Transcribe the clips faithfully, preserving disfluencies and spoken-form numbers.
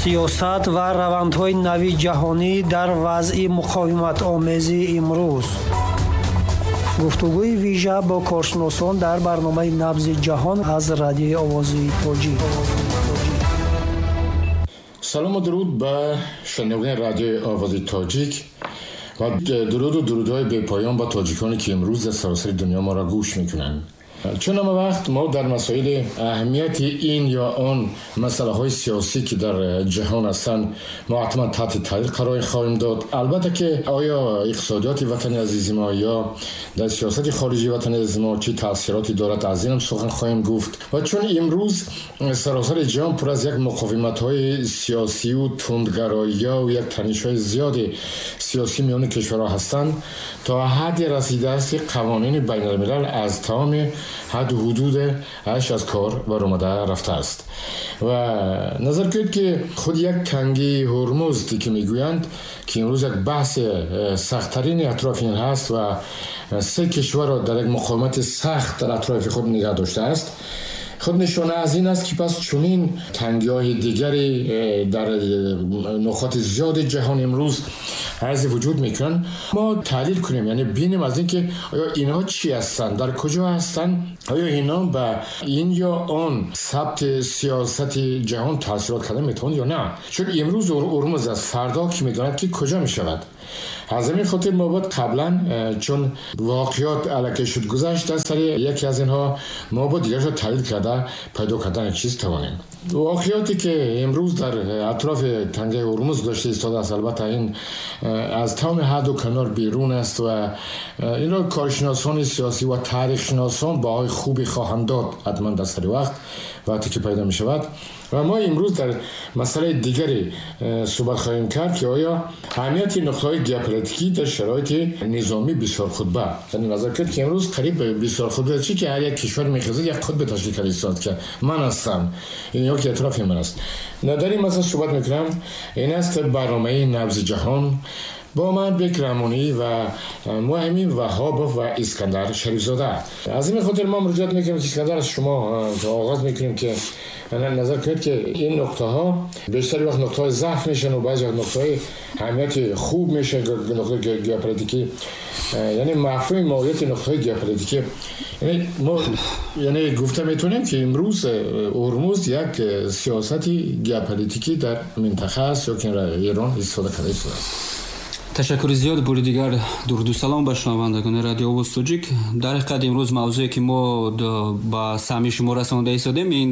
Сиёсат ва равандҳои нави ҷаҳонӣ дар вазъи муқовиматомези имрӯз. Гуфтугӯи вижа бо коршиносон дар барномаи «Набзи ҷаҳон» аз Радиои Овози Тоҷик. Салом ва дуруд ба шунавандагони Радиои Овози Тоҷик ва дуруд ва дурудҳои бепоён ба тоҷиконе, ки имрӯз дар саросари дунё моро гӯш мекунанд. Чун ҳама вақт мо дар масоили аҳамияти ин ё он масъалаҳои сиёсӣ, ки дар ҷаҳон ҳастанд, мо ҳатман таҳти таҳлил қарор хоҳем дод. Албатта, ки оё иқтисодиёти ватани азизи мо ё дар сиёсати хориҷии ватани азизи мо чӣ таъсироте дорад, аз инам сухан хоҳем гуфт. Ва чун имрӯз саросари ҷаҳон пур аз як муқовиматҳои сиёсию тундгароиё ва як танишҳои зиёди сиёсӣ миёни кишварҳо ҳастанд, то ҳадде расидааст, ки қавонини байналмилал аз тамоми ҳадду ҳудудаш аз кор баромада рафтааст. Ва назар кунед, ки худ як Танги Ҳурмуз, ки мегӯянд, ки имрӯз як баҳси сахттарини атрофи ин ҳаст ва се кишварро дар як муқовимати сахт дар атрофи худ нигаҳ доштааст, худ нишона аз ин аст, ки пас чунин тангиҳои дигаре дар нуқоти зиёди ҷаҳон имрӯз арзи вуҷуд мекунанд. Мо таҳлил кунем, яъне бинем аз ин, ки оё инҳо чӣ ҳастанд, дар куҷо ҳастанд, оё инҳо ба ин ё он сабти сиёсати ҷаҳон таъсирот карда метавонанд ё на. Чун имрӯз Ҳурмуз аст, фардо ки медонад, ки куҷо мешавад. Аз ҳамин хотир мо бояд қаблан, чун воқеот аллакай шуд, гузашт аз сари яке аз инҳо, мо бояд дигарашро таҳлил карда, пайдо кардан чиз тавонем. Воқеоте ки имрӯз дар атрофи Тангаи Ҳурмуз гузашта истодааст, албатта, ин аз тамоми ҳадду канор берун аст ва инро коршиносони сиёсӣ ва таърихшиносон баҳои хубе хоҳанд дод ҳатман дар сари вақт, вақте ки пайдо мешавад. Ва мо имрӯз дар масъалаи дигаре суҳбат хоҳем кард, ки оё аҳамияти нуқтаҳои геополитикӣ дар шароити низоми бисёрқутба. Яъне назар кунед, ки имрӯз қариб бисёрқутба чӣ, ки ҳар як кишвар мехезад, як қутбе ташкил карда истод, ки ман ҳастам ин ё ки атрофи ман аст. Дар ин масъала суҳбат мекунам. Ин аст барномаи «Набзи ҷаҳон» бо ман, Бек Раҳмонӣ, ва Муҳаммин Ваҳобов ва Искандар Шарифзода. Аз ин хотир мо муроҷиат мекунем, ки Искандар, аз шумо оғоз мекунем, ки назар кунед, ки ин нуқтаҳо бештари вақт нуқтаҳои заъф мешан ва баъзе вақт нуқтаҳои аҳамияти хуб мешан, нуқтаҳои геополитикӣ. Яъне мафҳуми моҳияти нуқтаҳои геополитикӣ, яъне мо яъне гуфта метавонем, ки имрӯз Ҳурмуз як сиёсати геополитикӣ дар минтақа аст ё ки Эрон истифода карда истодааст? Ташаккури зиёд. Бори дигар дуруду салом ба шунавандагони Радио Овоз Тоҷик. Дар ҳақиқат, имрӯз мавзӯе, ки мо ба самъи шумо расонда истодем, ин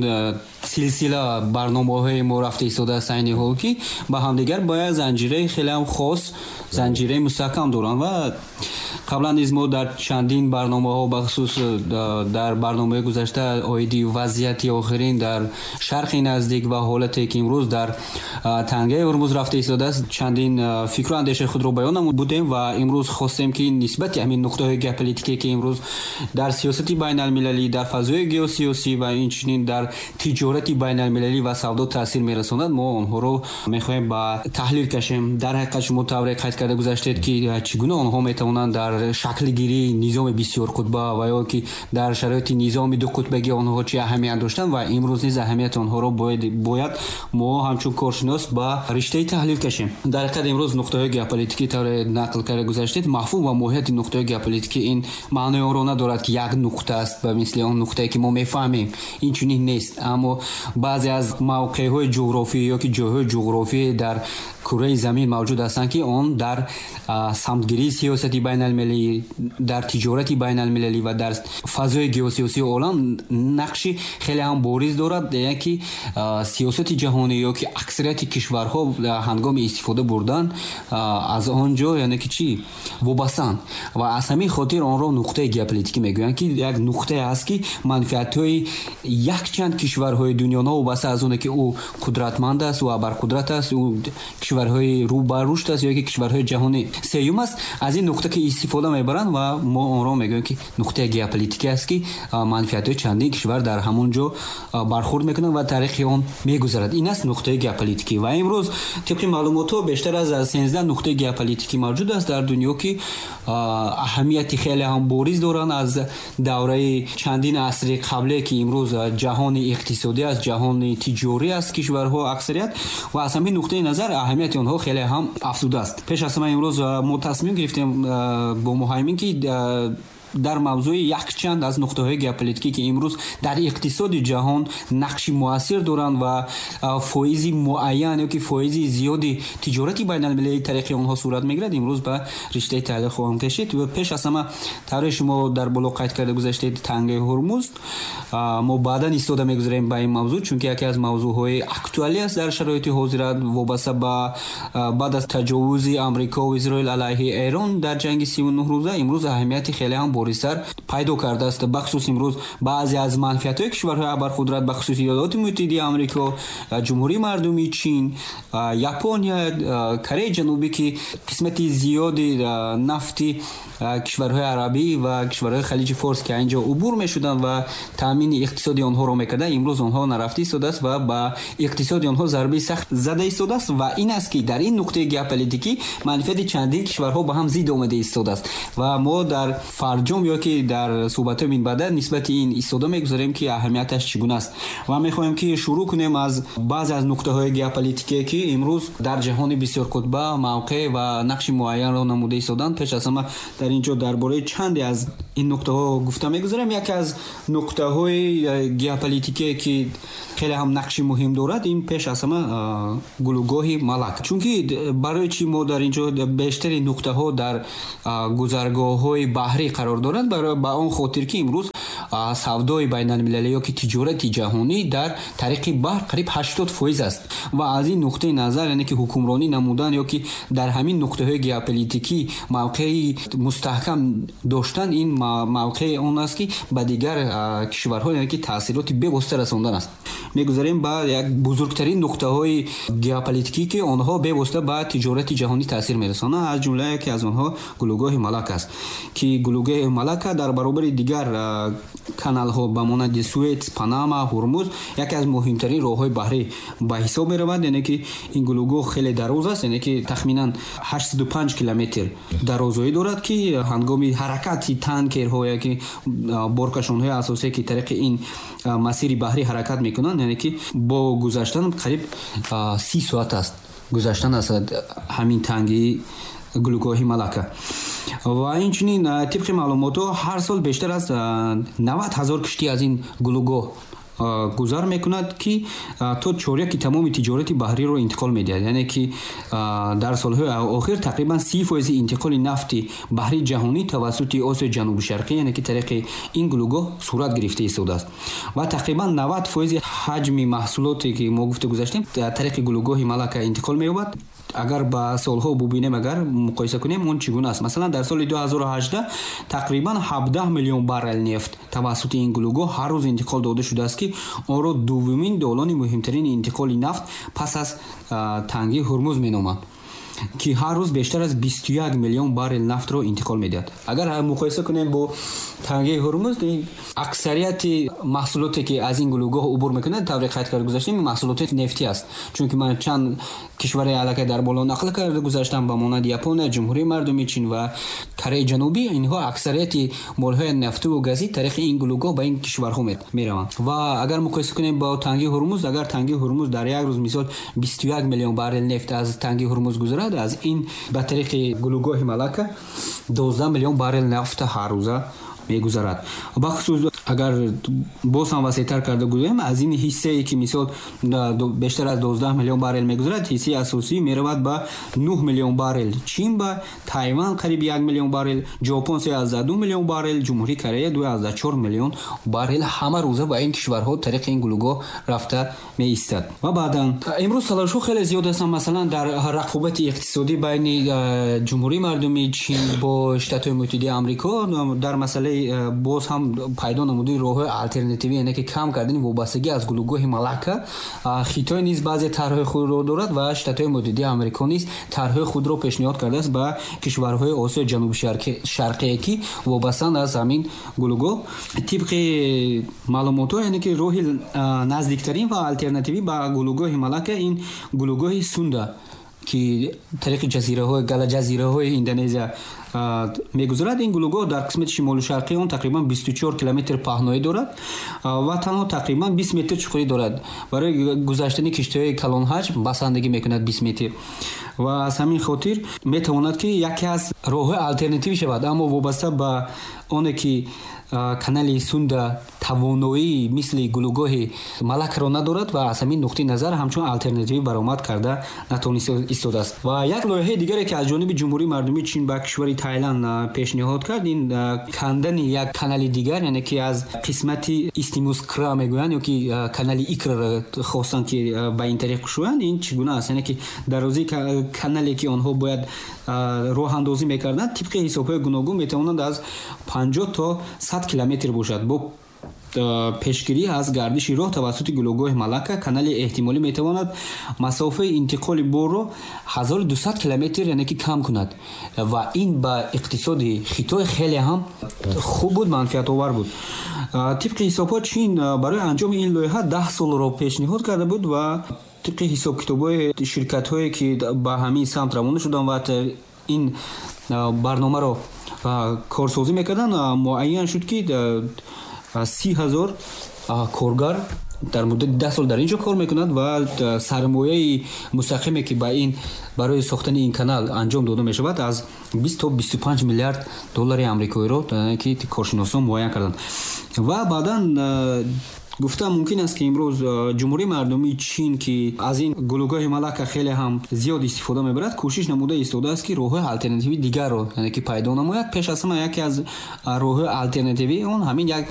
силсила барномаҳои мо рафта истодааст айни ҳол, ки ба ҳамдигар бо як занҷираи хелеам хос, занҷираи мустаҳкам доранд. Ва қаблан низ мо дар чандин барномаҳо, бахусус дар барномаи гузашта оиди вазъияти охирин дар Шарқи Наздик ва ҳолате, ки имрӯз дар Тангаи Ҳурмуз рафта истодааст, чандин фикру андешаи худро баён намудем. Ва имрӯз хостем, ки нисбати ҳамин нуқтаҳои геополитикие, ки имрӯз дар сиёсати байналмилалӣ, дар фазои геосиёсӣ ва инчунин дар тиҷорати байналмилалӣ ва савдо таъсир мерасонад, мо онҳоро мехоҳем ба таҳлил кашем. Дар ҳақиқат, шумо тавре қайд карда гузаштед, ки чӣ гуна онҳо метавонанд дар шаклгирии низоми бисёрқутба ва ё ки дар шароити низоми дуқутбагӣ онҳо чӣ аҳамият доштанд ва имрӯз низ аҳамияти онҳоро бояд мо ҳамчун коршинос ба риштаи таҳлил кашем. Дар ҳақиқат, имрӯз нуқтаҳои геополитикӣ, тавре нақл карда гузаштед, мафҳум ва моҳияти нуқтаҳои геополитикӣ ин маънои онро надорад, ки як нуқта аст, ба мисли он нуқтае, ки мо мефаҳмем, ин чунин нест. Аммо баъзе аз мавқеъҳои ҷуғрофӣ ё ки ҷойҳои ҷуғрофӣ дар кураи замин мавҷуд ҳастанд, ки он дар самтгирии сиёсати байналмилалӣ, дар тиҷорати байналмилалӣ ва дар фазои геосиёсии олам нақши хеле ҳам бориз дорад. Яъне ки сиёсати ҷаҳонӣ ё ки аксарияти кишварҳо ҳангоми истифода бурдан аз он ҷо, яъне ки чӣ, вобастаанд. Ва аз ҳамин хотир онро нуқтаи геополитикӣ мегӯянд, ки як нуқтае аст, ки манфиатҳои якчанд кишварҳои дунё, новобаста аз оне, ки ӯ қудратманд аст, ӯ абарқудрат аст, ӯ кишварҳои рӯ ба рушд аст ё ки кишварҳои ҷаҳонӣ. Сеюм аст, аз ин нуқта ки истифода мебаранд ва мо онро мегӯем ки нуқтаи геополитикӣ аст, ки манфиатҳои чандин кишвар дар ҳамон ҷо бархӯрд мекунанд ва таърихи он мегузарад. Ин аст нуқтаи геополитикӣ. Ва имрӯз тибқи маълумотҳо бештар аз сездаҳ нуқтаи геополитикӣ мавҷуд аст дар дунё, ки аҳамияти хеле ҳам бориз доранд аз давраи чандин асри қабле, ки имрӯз ҷаҳони иқтисодӣ аст, ҷаҳони тиҷорӣ аст кишварҳо аксарият, ва аз ҳамин нуқтаи назар аҳамияти онҳо хеле ҳам афзуда аст. Пеш аз ҳама имрӯз мо тасмим гирифтем бо муҳаймин, ки дар мавзӯи якчанд аз нуқтаҳои геополитикӣ, ки имрӯз дар иқтисоди ҷаҳон нақши муассир доранд ва фоизи муайян ё ки фоизи зиёди тиҷорати байналмилалии тариқи онҳо сурат мегирад, имрӯз ба риштаи таҳлил хоҳам кашид. Ва пеш аз ҳама тавре шумо дар боло қайд карда гузаштед, тангаи Ҳурмуз, мо баъдан истода мегузарем ба ин мавзӯъ, чунки яке аз мавзӯъҳои актуалӣ аст дар шароити ҳозира, вобаста ба баъд аз таҷовузи Амрико ва Исроил алайҳи Эрон дар ҷанги сию нӯҳ рӯза имрӯз аҳамияти хеле ҳам боризтар пайдо кардааст. Бахусус имрӯз баъзе аз манфиатҳои кишварҳои абарқудрат, бахусус Иёлоти Муттаҳидаи Амрико, Ҷумҳурии Мардумии Чин, Япония, Кореяи Ҷанубӣ, ки қисмати зиёди нафти кишварҳои арабӣ ва кишварҳои Халиҷи Форс, ки инҷо убур мешуданд ва таъмини иқтисоди онҳоро мекарданд, имрӯз онҳо нарафта истодааст ва ба иқтисоди онҳо зарбаи сахт зада истодааст. Ва ин аст, ки дар ин нуқтаи геополитикӣ манфиати чандин кишварҳо ба ҳам зид омада истодааст ва мо дар фарҷом ё ки дар суҳбатҳои минбаъда нисбати ин истода мегузарем, ки аҳамияташ чӣ гуна аст. Ва мехоҳем, ки шурӯъ кунем аз баъзе аз нуқтаҳои геополитикие, ки имрӯз дар ҷаҳони бисёрқутба мавқеъ ва нақши муайянро намуда истоданд. Пеш аз ҳама дар ин ҷо дар бораи чанде аз ин нуқтаҳо гуфта мегузарем. Яке аз нуқтаҳои геополитикие, ки хеле ҳам нақши муҳим дорад, ин пеш аз ҳама гулӯгоҳи Малак. Чунки барои чӣ мо дар ин ҷо бештари нуқтаҳо дар гузаргоҳҳои баҳрӣ қарор доранд? Ба он хотир, ки имрӯз савдои байналмилалӣ ё ки тиҷорати ҷаҳонӣ дар тариқи баҳр қариб ҳаштод фоиз аст ва аз ин нуқтаи назар, яъне ки ҳукмронӣ намудан ё ки дар ҳамин нуқтаҳои геополитикӣ мавқеи мустаҳкам доштан, ин мавқеи он аст, ки ба дигар кишварҳо, яъне ки таъсироти бевосита расондан аст. Мегузарем ба як бузургтарин нуқтаҳои геополитикӣ, ки онҳо бевосита ба тиҷорати ҷаҳонӣ таъсир мерасонанд. Аз ҷумла яке аз онҳо гулӯгоҳи Малак аст, ки гулӯгоҳи Малака дар баробари дигар каналҳо ба монанди Суэц, Панама, Ҳурмуз яке аз муҳимтарин роҳҳои баҳрӣ ба ҳисоб меравад. Яъне ки ин гулӯгоҳ хеле дароз аст, яъне ки тахминан ҳаштсаду панҷ километр дарозоӣ дорад, ки ҳангоми ҳаракати танкерҳо, яке боркашонҳои асосие, ки тариқи ин масири баҳрӣ ҳаракат мекунанд, яъне ки бо гузаштан қариб си соат аст гузаштан аз ҳамин танги гулӯгоҳи Малака. Ва инчунин тибқи маълумотҳо ҳар сол бештар аз навад ҳазор киштӣ аз ин гулӯгоҳ гузар мекунад, ки то чоряки тамоми тиҷорати баҳриро интиқол медиҳад. Яъне ки дар солҳои охир тақрибан си фоизи интиқоли нафти баҳри ҷаҳонӣ тавассути Осиёи Ҷанубу Шарқӣ, яъне ки тариқи ин гулӯгоҳ сурат гирифта истодааст ва тақрибан навад фоизи ҳаҷми маҳсулоте, ки мо гуфта гузаштем, тариқи гулӯгоҳи Малака интиқол меёбад. Агар ба солҳо бубинем, агар муқоиса кунем, он чӣ гуна аст? Масалан, дар соли ду ҳазору ҳаждаҳ тақрибан ҳабдаҳ миллион баррел нефт тавассути ин гулӯгоҳ ҳар рӯз интиқол дода шудааст, ки онро дуввумин долони муҳимтарини интиқоли нафт пас аз танги Ҳурмуз меноманд, ки ҳар рӯз бештар аз бисту як миллион баррел нафтро интиқол медиҳад. Агар муқоиса кунем бо танги Ҳурмуз, аксарияти маҳсулоте, ки аз ин гулӯгоҳ убур мекунад, тавре қайд карда гузаштем, маҳсулоти нефтӣ аст. Чунки ман чанд кишваре аллакай дар боло нақл карда гузаштам, ба монанди Япония, Ҷумҳурии Мардумии Чин ва Кореяи Ҷанубӣ, инҳо аксарияти молҳои нафту газӣ тариқи ин гулӯгоҳ ба ин кишварҳо мераванд. Ва агар муқоиса кунем бо танги Ҳурмуз, агар танги Ҳурмуз дар як рӯз мисол бисту як миллион баррел нефт аз танги Ҳурмуз гузарад, аз ин ба тариқи гулӯгоҳи Малака дувоздаҳ миллион баррел нафт ҳар рӯза мегузарад. Бахусус агар боз ҳам васеътар карда гӯем, аз ин ҳиссае, ки мисол бештар аз дувоздаҳ миллион баррел мегузарад, ҳиссаи асосӣ меравад ба нӯҳ миллион баррел Чин, ба Тайван қариб як миллион баррел, Ҷопон се аз ду миллион баррел, Ҷумҳурии Корея ду аз чор миллион баррел ҳама рӯза ба ин кишварҳо тариқи ин гулӯгоҳ рафта меистад. Ва баъдан имрӯз талошҳо хеле зиёд ҳастанд. Масалан, дар рақобати иқтисодӣ байни Ҷумҳурии Мардумии Чин бо Штатҳои Муттаҳидаи Амрико дар масъалаи боз ҳам пайдо намудани роҳҳои алтернативӣ, яъне ки кам кардани вобастагӣ аз гулӯгоҳи Малакка, Хитой низ баъзе тарҳҳои худро дорад ва Штатҳои Муттаҳидаи Амрико низ тарҳҳои худро пешниҳод кардааст ба кишварҳои Осиёи Ҷануби Шарқие, ки вобастанд аз ҳамин гулӯгоҳ. Тибқи маълумотҳо, яъне ки роҳи наздиктарин ва алтернативӣ ба гулӯгоҳи Малакка ин гулӯгоҳи Сунда, ки тариқи ҷазираҳои галаҷазираҳои Индонезия мегузарад. Ин гулӯгоҳ дар қисмати шимолу шарқии он тақрибан бисту чор километр паҳноӣ дорад ва танҳо тақрибан бист метр чуқурӣ дорад. Барои гузаштани киштиҳои калонҳаҷм басандагӣ мекунад бист метр ва аз ҳамин хотир метавонад, ки яке аз роҳҳои алтернативӣ шавад. Аммо вобаста ба оне ки канали Сунда тавоноии мисли гулӯгоҳи Малакро надорад ва аз ҳамин нуқтаи назар ҳамчун алтернативӣ баромад карда натавонист истодааст. Ва як лоиҳаи дигаре, ки аз ҷониби Ҷумҳурии Мардумии Чин ба кишвари Тайланд пешниҳод кард, ин кандани як канали дигар, яъне ки аз қисмати Истмус Кра мегӯянд ё ки канали Икраро хостанд, ки ба ин тариқ кушоянд. Ин чӣ гуна аст? Яъне ки дарозии канале, ки онҳо бояд роҳандозӣ мекарданд, тибқи ҳисобҳои гуногун метавонанд аз панҷоҳ то сад километр бошад. Бо пешгирӣ аз гардиши роҳ тавассути гулӯгоҳи Малакка, канали эҳтимолӣ метавонад масофаи интиқоли борро ҳазору дусад километр, яъне ки кам кунад ва ин ба иқтисоди Хитой хеле ҳам хуб буд, манфиатовар буд. Тибқи ҳисобҳо, Чин барои анҷоми ин лоиҳа даҳ солро пешниҳод карда буд ва тибқи ҳисобкитобҳои ширкатҳое, ки ба ҳамин самт равона шуданд ва ин барномаро корсозӣ мекарданд, муайян шуд, ки си ҳазор коргар дар муддати даҳ сол дар ин ҷо кор мекунад ва сармояи мустақиме, ки ба ин барои сохтани ин канал анҷом дода мешавад, аз бист то бисту панҷ миллиард доллари амрикоиро ки коршиносон муайян карданд. Ва баъдан гуфта мумкин аст, ки имрӯз Ҷумҳурии Мардумии Чин, ки аз ин гулӯгоҳи Малакка хеле ҳам зиёд истифода мебарад, кӯшиш намуда истодааст, ки роҳҳои алтернативии дигарро, яъне ки пайдо намояд. Пеш аз ҳама, яке аз роҳҳои алтернативии он ҳамин як